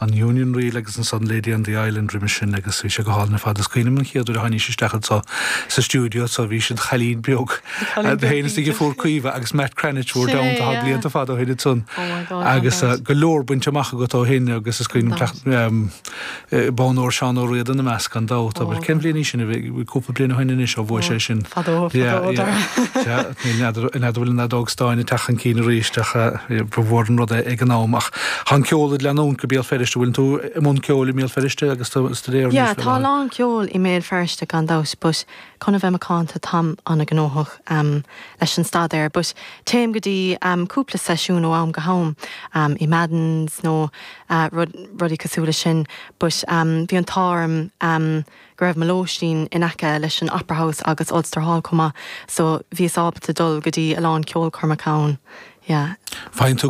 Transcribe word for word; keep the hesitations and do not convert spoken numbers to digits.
An Union Reel agus ansan Lady on the Island roimhe sin agus bhí sé go hálainn ar fad is cuimhin liom an chéad uair a tháinig isteach anseo sa stiúideo so bhí siad chailín beag féin is fuair Caoimhe agus Matt Cranitch bhur down tá blianta fada ó shin ansan agus go leor bainte amach agat ó shin agus is cuimhin bonn óir Seán Ó Riada ina measc gan dabht aber cén bhliain í sin cúpla bliain ó shin anois ó bhuaigh sé sin. N'fheadar an fheadóg stáin ag teacht chun cinn arís ach ba mhór an rud é ag an am ach tá an ceol ag leanúint go Béal Feirste bhfuil tú i mbun ceoil i mBéal Feirste agus staidéar Yeah, tá lán ceol i mBéal Feirste gan dabht, but chun a bheith macánta táim an-ghnóthach um, leis an staidéar, but téim go dtí um, cúpla seisiún ó am go ham um, i Maddens nó uh, rud, rudaí cosúil leis sin, but um, bhí an t-ádh orm um, go raibh mo lóistín in aice leis an Opera House agus Ulster Hall chomh maith, so bhíos ábalta dul go dtí a lán ceolchoirmeacha. Yeah. Faigheann tú